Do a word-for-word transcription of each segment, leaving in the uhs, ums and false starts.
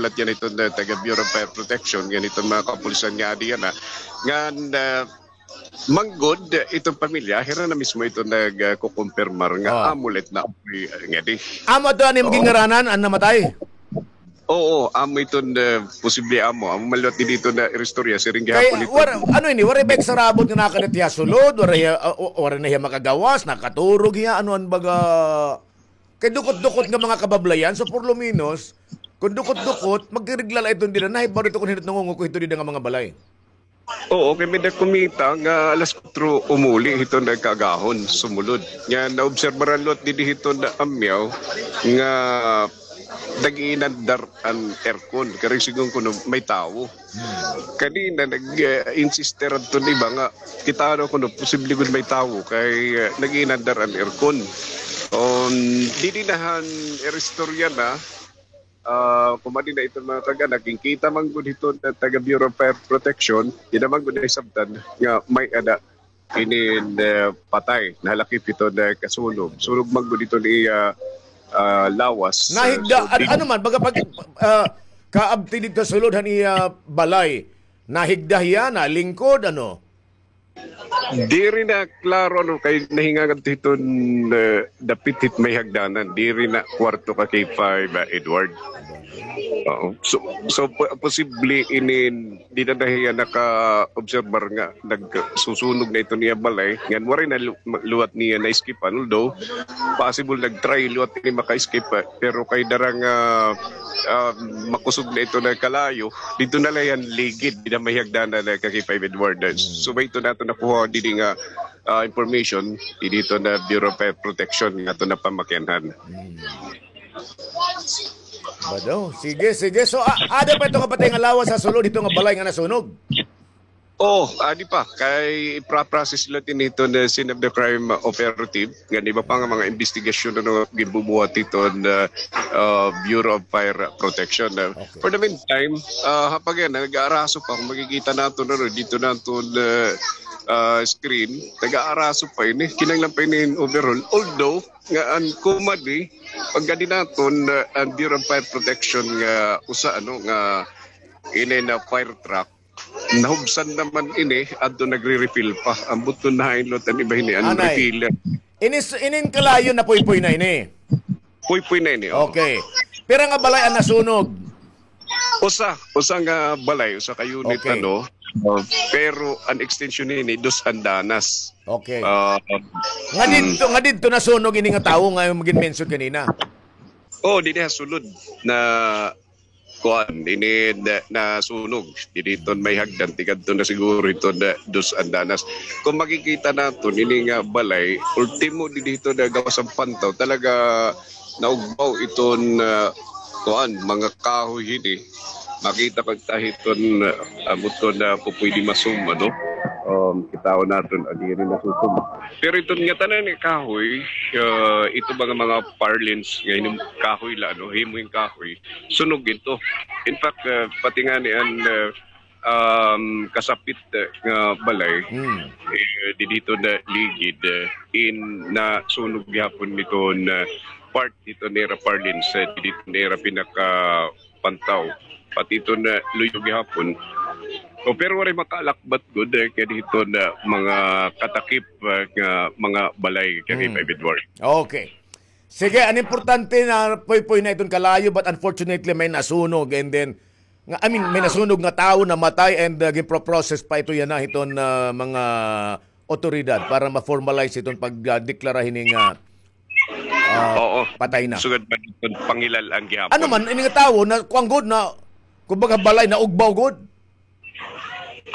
nagsulat yana iton, ah, taga Bureau of Fire Protection, yana iton mga kapulisan nga adi yana, ngan, ah, manggod iton pamilya, hira na mismo iton nagkukumpirmar nga amo la iton naapoy, ah, ngadi. Amo adto an imo ginngaranan, an namatay? Oo, amo iton, ah, posible amo. Amo man liwat didi iton naristorya, siring gihapon iton. Kay, war-, ano ini, waray ba sarabot nga nakadit hiya sulod, waray hiya, ah, o-, waray na hiya makagawas, nakaturog hiya, ano an baga, kay dukot-dukot nga mga kabablayan, so por lo menos, kon dukot-dukot, magregla la iton dida, nahibaw dida kon hin-o it nangungukoy hito dida nga mga balay. Oo, kay may-ada kumita nga alas kuwatro umuli hiton kaagahon, sumulod. Nga naobserbaran liwat didi hiton Amyaw nga nag-iinandar an aircon. Kay siring kuno may tawo. Hmm. Kanina nag, eh, insiste adton iba nga kita daw kuno posible gud may tawo kay, eh, nag-iinandar an aircon. Um, didi na han iristorya na, ah, kumadi na iton mga taga, nagkingkita man gud hiton taga Bureau of Fire Protection, dida man gud nahisabtan nga may-ada inin, eh, patay, nahalakip hiton kasunog. Sunog man gud hiton iya, ah, lawas. Nahigda, so, an-, ano man, baga pag, ah, kaabti didto sulod han iya balay. Nahigda hiya, nalingkod, ano? Diri na klaro, ano, kay nahingangan hiton, eh, dapit hit may hagdanan. Diri na kwarto ka K five, ah, Edward. Oo. So, so, po-, posible inin, dida na hiya nakaobserbar nga nagsusunog na iton iya balay. Ngan waray na lu-, liwat niya na-escape-an. Although, possible nag-try liwat ini maka-escape, ah, pero kay dara nga, ah, makusog na iton kalayo, didto na la hiya han ligid, dida may hagdanan na ka K five Edward. Hmm. So, may ito nato nakuha didi nga, ah, information, didi hiton Bureau of Fire Protection nga aton napamakianhan. Hmm. Bado. Sige, sige. So, a-, ada pa ito nga patay nga lawas ha sulod hito nga balay nga nasunog? Oh, adi pa. Kay ipra-process la ini hiton scene of the crime operative. Ngan iba pa nga mga investigasyon, ano, ginbubuhat hiton, ah, ah, Bureau of Fire Protection. Ah, okay. For the meantime, ah, ha pag-, nag-aaraso pa. Kon makikita naton, ano, didto naton, ah, ah, screen, nag-aaraso pa ini. Kinahanglan pa ini hin overhaul. Although, nga an kumadi, pagkadi naton, ah, an Bureau of Fire Protection nga usa, ano, nga ini na fire truck, nahubsan naman ini, adto nagre-refill pa. Ambot kon hain liwat an iba hini, an refiller. Ini s-, inin kalayo, napuypoy na ini? Puypoy na ini, oo. Okay. Pira nga balay an nasunog? Usa, usa nga balay, usa ka unit, ano, uh, pero an extension hini, dos andanas. Okay. Ah, nga didto, nga didto nasunog ini nga tawo nga imo gin-mention kanina? Oh, didi ha sulod na kuan, ini na, nasunog. Didi hiton may hagdan, tikadto na siguro hiton dos andanas. Kon makikita naton, ini nga balay, ultimo didi hiton gawas han pantaw, talaga naugbaw iton, ah, kuan, mga kahoy hini. Makita ko ta hiton, ah, ambot kon pupuydi ma-zoom, ano? Um, kitaon naton, ah, diri na susum. Pero iton ngatanan nga kahoy, ah, ito mga, mga purlins nga hinim-, kahoy la, ano, himo hin kahoy, sunog ito. In fact, ah, pati ngani an, ah, um, kasapit, ah, nga balay, eh, didi hiton ligid, eh, in nasunog gihapon hiton, ah, part hiton ira purlins, eh, didi hiton ira pinakapantaw. Pati hiton luyo gihapon. O, pero waray makaalakbat gud, eh, kay didi hiton mga katakip, ah, nga mga balay, kay K five Edward. Okay. Sige, an importante, napuypoy na iton kalayo, but unfortunately, may nasunog, and then, nga, I mean, may nasunog nga tawo namatay, and, uh, ginpro-process pa ito yana hiton, uh, mga otoridad para ma-formalize iton pagdeklara hini nga, uh, patay na. Sugad pa iton pangilal-an gihapon. Ano man, ini nga tawo, na, kuan gud na, kumbaga, balay, naugbaw gud?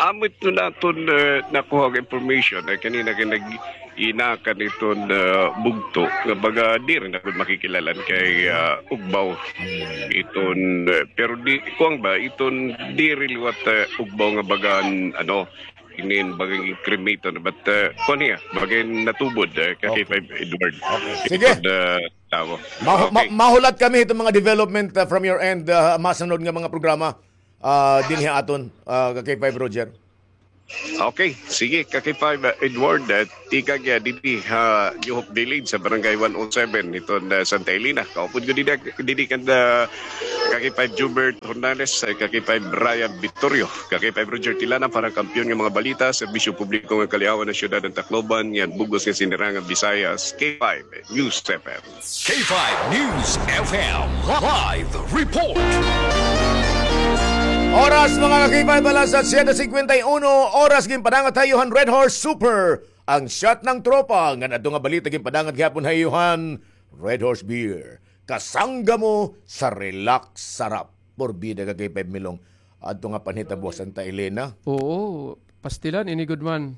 Amo ito naton, eh, nakuha nga information, eh, kanina kay nag-inakan iton, eh, bugto nga baga diri na gud makikilal-an kay, ah, ugbaw iton, eh, pero di, kuan ba, iton diri liwat, eh, ugbaw nga bagan, ano, inin bagang cremated, but, eh, kuan hiya, bagang natubod, eh, ka K five Edward. Okay. Sige. Iton, eh, tawo. Mahu-, ma-, mahulat kami hiton mga development, ah, from your end, ah, masunod nga mga programa, ah, dinhi ha aton, ah, ka K five Roger. Okay, sige, ka K five, uh, Edward, uh, tikang, uh, didi ha New Hope Village sa Barangay one oh seven, iton, uh, Santa Elena. Kaupod ko didi, didi kan, uh, ka K five Jubert Hernandez, uh, ka K five Brian Vittorio, ka K five Roger Tilana para kampiyon nga mga balita, serbisyo publiko nga kaliawan ng siyudad ng Tacloban, yan bugos nga sinirangan Visayas, K five News F M. K five News F M live report. Oras, mga ka-K five, alas siyete singkwenta y uno, oras ginpadangat ha iyo han Red Horse Super, ang shot ng tropa. Ngan adto nga balita ginpadangat gihapon ha iyo han Red Horse Beer. Kasangga mo sa relax sarap. Porbida ka K five Milong. Adto nga panhitabo ha Santa Elena. Oo, pastilan, ini gud man.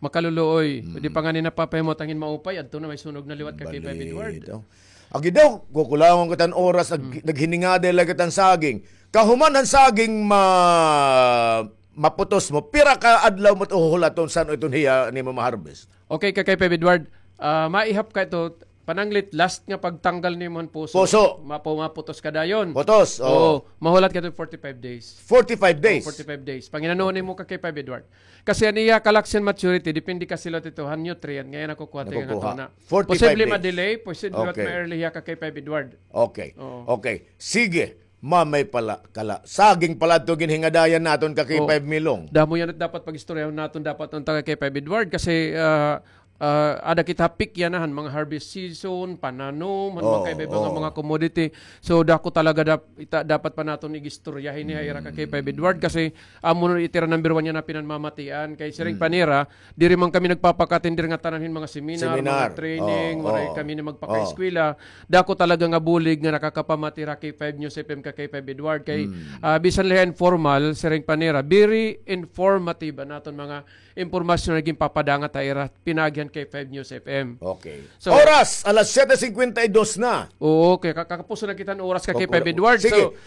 Makaluluoy. Mm. Di pa ngani napapahimo tangin maupay, adto na may sunog na liwat ka K five Edward. Balito. Agi daw, kukulangon kita hin oras, nag-, Mm. naghiningaday la kita hin saging. Kahuman han saging ma-, maputos mo, pira ka adlaw mo ito huhulaton san-o iton hiya nimo ma-harvest? Okay, ka K five Edward, ah, maihap ka ito, pananglit, last nga pagtanggal nimo han puso. Puso. Mapo-, maputos ka dayon. Putos, oo. Oo, mahulat ka ito forty-five days. Forty-five days? Oo, forty-five days. Panginanuon nimo ka K five Edward. Kasi an iya kalaksian maturity, depende kasi la ito han nutrient nga iya nakukuha ito nga Nakukuha. tuna. Forty-five Posible days. ma-delay, posible Okay. ma-early hiya ka K five Edward. Okay. Oo. Okay. Sige. Mamay pala, kala. Saging pala ito ginhingadayan naton ka Oo. K five Milong. Damo yana it dapat pag-istoryahon naton dapat unta ka K five Edward kasi, ah, ah, ada kita peak yana han mga harvest season, pananom, han Oo, mga kaiba-iba nga oo. mga commodity. So, dako talaga dap-, ita-, dapat pa naton igistorya hini ha ira ka K five Edward kasi amo na it ira number one yana pinanmamatian. Kay siring Mm. pa nira, diri man kami nagpapakatin diri nga tanan hin mga seminar, Seminar. mga training, Oo, waray oo. kami na magpakaeskwela. Oo. Dako talaga nga bulig nga nakakapamati ra K five News F M ka K five Edward. Kay, Mm. ah, bisan la informal, siring pa nira, very informative an aton mga impormasyon nga ginpapadangat ha ira pinaagi han K five News F M. Okay. So, Oras, alas siyete singkwenta y dos na. Oo, kay ka-, kakapuson na kita hin oras ka K five Edward. Sige. So,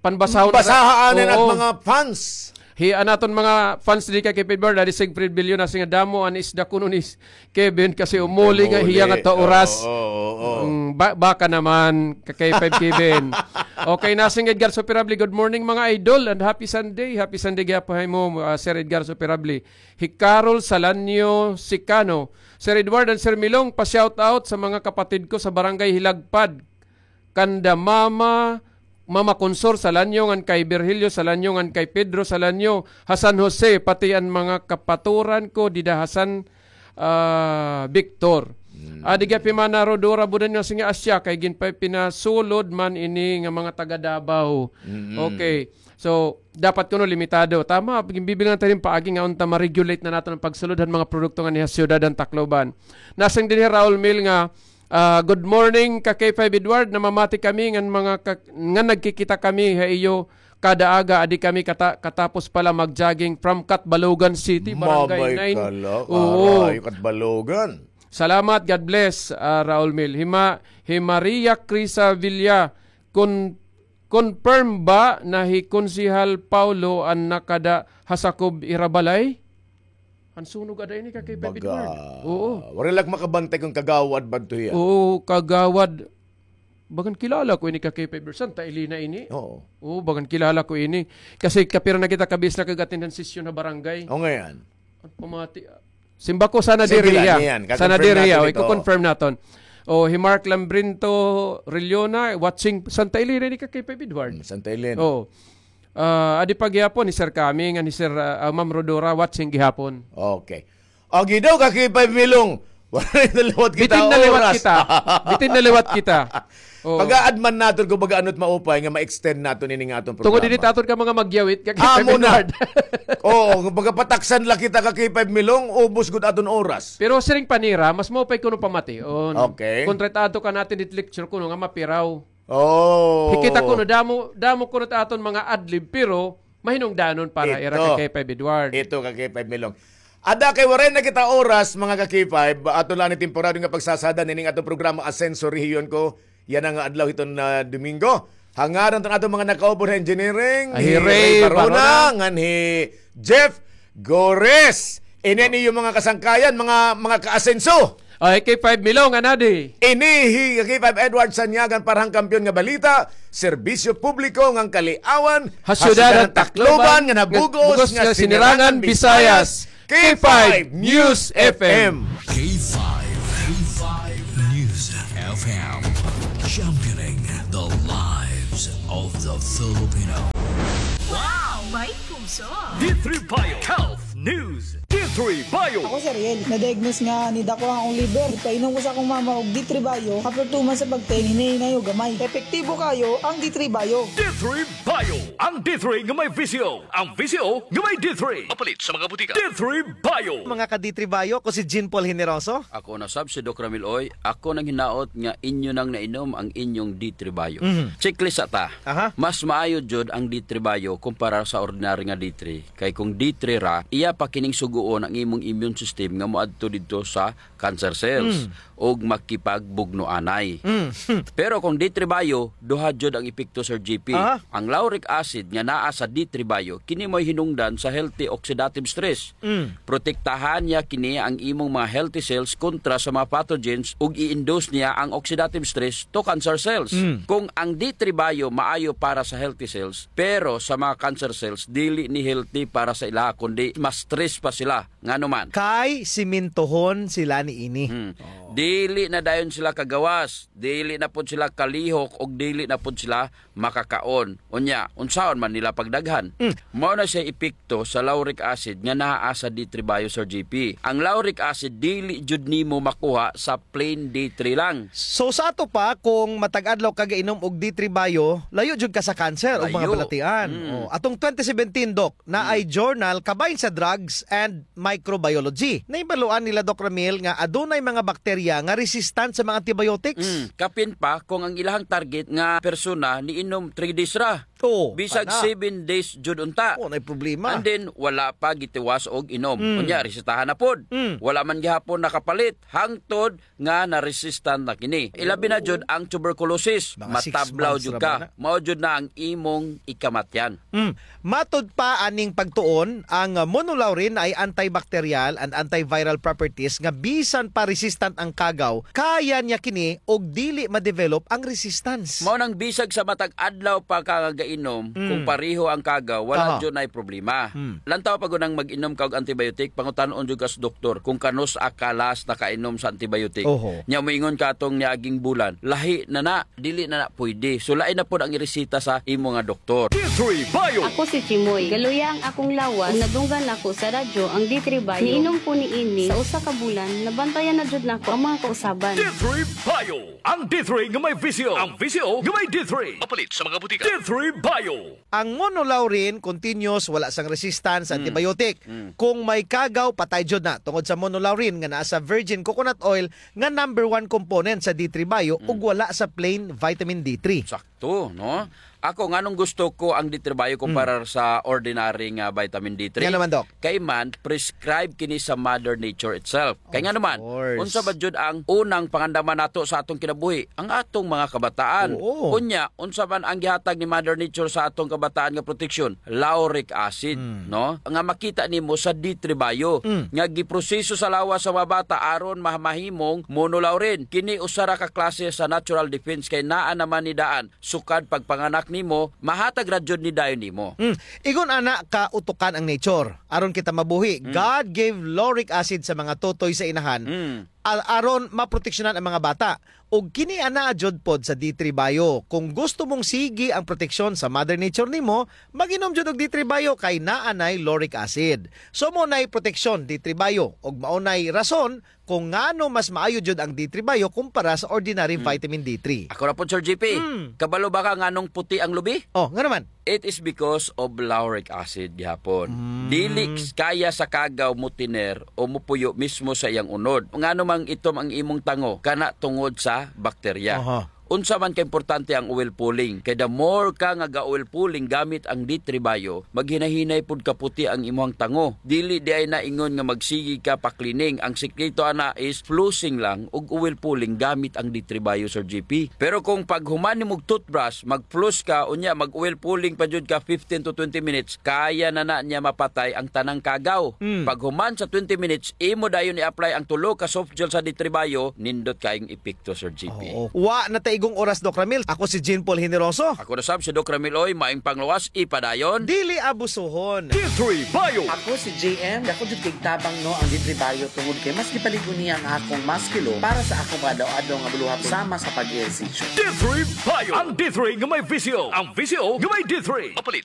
panbasahon na Basaha anin at Oo. mga fans. Hi, an aton mga fans didi ka K five Edward, Daddy Siegfried Villona, siring nga damo an isda kuno ni Kevin kasi umuli nga hiya nga ta oras. Oo, oo, oo. Mm, ba-, baka naman, ka K five Kevin. Okay, Nasing Edgar Superable, good morning, mga idol, and happy Sunday. Happy Sunday gihapon ha imo, ah, Sir Edgar Superable. Hi Carol Salanyo Sicano, Sir Edward and Sir Milong, pa-shout out sa mga kapatid ko sa Barangay Hilagpad. Kanda Mama, Mama Consor Salanyo, ngan kay Virgilio Salanyo, ngan kay Pedro Salanyo, ha San Jose, pati an mga kapaturan ko dida ha San, ah, Victor. Hmm. Adi gihap hi Mana Rodora Budanyo, siring nga asya, kay ginpa-, pinasulod man ini nga mga taga Davao. Mm-mm. Okay. So, dapat kuno limitado. Tama, ginbibilangan ta hin paagi nga unta ma-regulate na naton an pagsulod han mga produkto nganhi ha siyudad han Tacloban. Nasiring dinhi hi Raul Mil nga, ah, "Good morning, ka K five Edward. Namamati kami ngan mga ka-, ngan nagkikita kami ha iyo kada aga. Adi kami kata-, katapos pa la mag-jogging from Catbalogan City, Barangay Mamay nine." Kala, Oo. Aray, Catbalogan. Salamat, God bless, ah, Raul Mil. Hi Ma-, hi Maria Crisa Villa, kun Confirm ba na hi Konsehal Paulo an nakada ha sakob ira balay? An sunog ada ini ka K five Edward. Oo. Waray la ak makabantay kon kagawad ba adto hiya. Oo, kagawad. Bagan kilala ko ini ka K five Edward. Santa Elena ini. Oo. Oo, bagan kilala ko ini. Kasi kapira na kita kabis na kag-attend han sesyon ha barangay. O, ngayan. An pamati, ah, simba ko sana diri hiya. Sana diri hiya. O, iko-confirm naton. O, hi Mark Lambrinto Riliona, watching Santa Elena ini ka K five Edward. Hmm, Santa Elena. O. Ah, adi pa gihapon, hi Sir Kami, ngan hi Sir, ah, ah, Ma'am Rodora, watching gihapon. Okay. Agi daw ka K five Milong. Waray na liwat kita oras. Bitin na liwat kita. Bitin na liwat kita. Oo. Pag-aadman naton kon baga ano it maupay nga ma-extend naton ini nga aton programa. Tungod ini ta aton ka mga magyawit, ka K five Edward. Oo, kon baga pataksan la kita ka K five Milong, ubos gud aton oras. Pero siring pa nira, mas maupay kuno pamation. Okay. Kontra it ato ka natin it lecture kuno nga mapiraw. Oh. Hikita kuno, damo, damo kuno it aton mga adlib, pero mahinungdanon para ira ka K five Edward. Ito ka K five Milong. Ada kay waray na kita oras, mga ka K five, aton la ini temporaryo nga pagsasada nining aton programa Asenso Rehiyon Ko. Yana nga adlaw hiton, ah, Domingo. Ha ngaran hiton aton mga nakaupod ha engineering, hi Ray Barona, ngan hi Jeff Gores. Ini an iyo mga kasangkayan, mga, mga ka-Asenso. Ay, K five Milong, anadi. Ini hi K five Edward Sanyagan para han Kampiyon nga Balita. Serbisyo publiko ngan kaliawan ha syudad han Tacloban nga nabug-os nga Sinirangan Visayas, K five News F M. K five, K five News F M, championing the lives of the Filipino. Wow! May puso! D three Bio Health News. D three Bio. Ako si Ariel. Na-diagnose nga nidako ang akong liver. Ipainom ko sa akong mama og D three Bio. After two months sa pag-take, hinay-hinay og gamay. Epektibo kayo ang D three Bio. D three Bio. Ang D three nga may V C O. Ang V C O nga may D three. Mapalit sa mga butika. D three Bio. Mga ka-D three Bio, ako si Jean Paul Generoso. Ako na sab si Doc Ramil Oy. Ako nanghinaot nga inyo nang nainom ang inyong D three Bio. Mhm. Checklist sa ta. Aha. Mas maayo jud ang D three Bio kumpara sa ordinary nga D three. Kay kung D three ra, iya pa kining sugoon ang imong immune system nga moadto didto sa cancer cells Mm. ug makipagbugno anay. Mm. Pero kung D three Bio, duha jud ang epekto, Sir G P. Aha. Ang lauric acid nga naa sa D three Bio, kini mo'y hinungdan sa healthy oxidative stress. Mm. Protektahan niya kini ang imong mga healthy cells kontra sa mga pathogens ug i-induce niya ang oxidative stress to cancer cells. Mm. Kung ang D three Bio maayo para sa healthy cells, pero sa mga cancer cells, dili ni healthy para sa ila, kundi mas stress pa sila. Ngano man? Kay simintohon sila niini. Hmm. Dili na dayon sila kagawas, dili na pod sila kalihok, ug dili na pod sila makakaon. Unya, unsaon man nila pagdaghan? Mm. Mao na siya epekto sa lauric acid nga naa sa D three Bio, Sir G P. Ang lauric acid dili jud nimo makuha sa plain D three lang. So, sa ato pa, kung matag adlaw ka gainom og D three Bio, layo jud ka sa cancer o mga Layo. balatian. Mm. Oh, atong twenty seventeen, Doc, na ay Mm. journal kabahin sa Drugs and Microbiology. Nahibaluan nila, Doc Ramil, nga adunay mga bakterya nga resistant sa mga antibiotics. Mm, kapin pa kung ang ilahang target nga persona niinom three days ra. Oo, Bisag ana. seven days jud unta. Oo, nay problema. And then, wala pa gitiwas og inom. Mm. Unya, resetahan na pod. Mm. Wala man gihapon nakapalit. Hangtod nga na-resistant na kini. Ilabi na Oo. jud ang tuberculosis. Mga six Matablaw months jud ra ka. ba na? Mao jud na ang imong ikamatyan. Mm. Matod pa aning pagtuon, ang, ah, monolaurin ay antibacterial and antiviral properties nga bisan pa resistant ang kagaw, kaya niya kini og dili ma-develop ang resistance. Mao nang bisag sa matag adlaw pa ka nga gainom, Mm. kung pareho ang kagaw, wala Aha. jud nay problema. Mm. Lantaw pa gud ang mag-inom ka og antibiotic, pangutan-on jud ka sa doktor kung kanus-a ka last nakainom sa antibiotic. Oho. Nya moingon ka atong niaging bulan, lahi na na, dili na na pwede. So, lain na pod ang ireseta sa imo nga doktor. D three Bio. Ako si Chimoy. Galuya ang akong lawas. Ug nadunggan nako sa radyo ang D three Bio. Niinom ko niini sa usa ka bulan, nabantayan na jud nako ang mga kausaban. D three Bio. Ang D three nga may V C O. Ang V C O nga may D three. Mapalit sa mga butika. D three Bio. Ang monolaurin, continuous, wala sang resistance sa Mm. antibiotic. Mm. Kung may kagaw, patay jud na. Tungod sa monolaurin nga naa sa virgin coconut oil nga number one component sa D three Bio Mm. ug wala sa plain vitamin D three. Sakto, no? Ako, nganong gusto ko ang D three Bio Mm. kumpara sa ordinary nga vitamin D three? Ngano man, Doc? Kay man, prescribe kini sa Mother Nature itself. Kay Of ngano man, course. unsa ba jud ang unang pangandaman nato sa atong kinabuhi? Ang atong mga kabataan. Oo. Unya, unsa man ang gihatag ni Mother Nature sa atong kabataan nga proteksyon? Lauric acid, Mm. no? Nga makita nimo sa D three Bio, Mm. nga giproseso sa lawas sa mga bata aron ma-, mahimong monolaurin. Kini usa ra ka klase sa natural defense kay naa naman ni daan sukad pagpanganak nimo, mahatag ra jud ni dayon nimo. Mm. Ingon ana ka utukan ang nature. Aron kita mabuhi, Mm. God gave lauric acid sa mga tutoy sa inahan, Mm. al-, aron maproteksyonan ang mga bata. Ug kini ana jud pod sa D three Bio. Kung gusto mong sige ang proteksyon sa Mother Nature nimo, mag-inom jud og D three Bio kay naa nay lauric acid. So, mao nay proteksyon, D three Bio. Ug mao nay rason kung ngano mas maayo jud ang D three Bio kumpara sa ordinary Mm. vitamin D three. Ako ra pod, Sir G P. Mm. Kabalo ba ka nganong puti ang lubi? Oh, ngano man? It is because of lauric acid gihapon. Mm. Dili kaya sa kagaw motiner o mopuyo mismo sa iyang unod. Ngano mang itom ang imong tango? Kana tungod sa bakterya. Aha. Unsa man kaimportante ang oil pulling? Kay the more ka nga ga-oil pulling gamit ang D three Bio, maghinahinay pud kaputi ang imuhang tango. Dili diay na ingon nga magsige ka pa-cleaning. Ang sikreto ana is flossing lang ug oil pulling gamit ang D three Bio, Sir G P. Pero kung paghuman nimog toothbrush, mag-floss ka, unya mag-oil pulling pa jud ka fifteen to twenty minutes, kaya na na niya mapatay ang tanang kagaw. Mm. Paghuman sa twenty minutes, imo dayon i-apply ang tulo ka soft gel sa D three Bio, nindot kayong epekto, Sir G P. Oo. Wa na tay Kung oras, Doc Ramil, ako si Jean Paul Generoso. Ako na sab si Doc Ramil Oy, maayong pangluwas, ipadayon. Dili abusuhon. D three Bio. Ako si J M, dako jud kay tabang, no, ang D three Bio tungod kay mas gipalig-on niya ang akong musculo para sa akong pag-adlaw-adlaw nga buluhaton sama sa pag-ehersisyo. D three Bio. Ang D three nga may visyo. Ang visyo nga may D three. Mapalit